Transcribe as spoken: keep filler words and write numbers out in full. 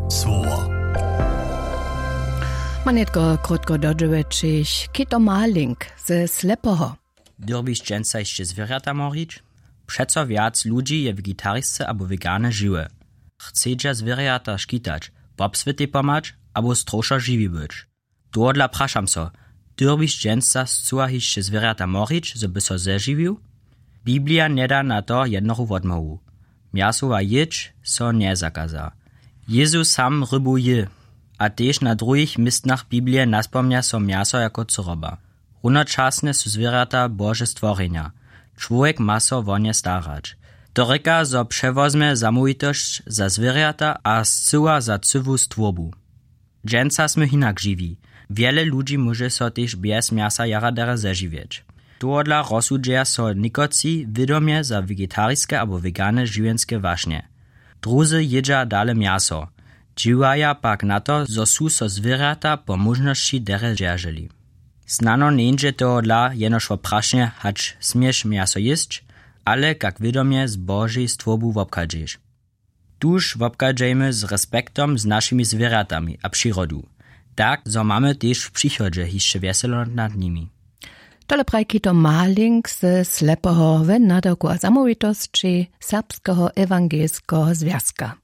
Słowo. Ma nětko krótko dodźełećich, kito maling ze slepoho. Dyrbiš dźensa hišće zwěrjata morić? Přeco wjac ludźi je wegetarisce abo wegane žiwe. Chcedźa zwěrjata škitać, wobswětej pomhać abo strowšo žiwi być? Tohodla prašam so, dyrbiš dźensa scyła hišće zwěrjata morić, zo by so zežiwił? Biblija njeda na to jednochu wotmołwu. Mjasowa jědź so njezakaza. Jezus sam rybu jě. A tež na druhich městnach biblije naspomnja so mjaso jako cyroba. Runočasnje su zwěrjata bože stworjenja. Čłowjek ma so wo nje starać. To rěka, zo přewozmje zamołwitosć za zwěrjata a scyła za cyłu stwórbu. Dźensa smy hinak žiwi. Wjele ludźi móže so tež bjez mjasa jara derje zežiwjeć. Tohodla rozsudźeja so někotři wědomje za vegetariske abo wegane žiwjenske wašnje. Druzy jědźa dale mjaso. Dźiwaja pak na to, zo su so zwěrjata po móžnosći derje dźerželi. Snano njeńdźe tohodla jenož wo prašnje, hač směš mjaso jěsć, ale kak wědomje z božej stwórbu wobchadźeš. Tuž wobchadźejmy z respektom z našimi zwěrjatami a přirodu, tak zo mamy tež w přichodźe hišće wjeselo nad nimi. Tole praji kito maling ze slepoho we nadawku a zamołwitosći serbskeho ewangelskeho zwjazka.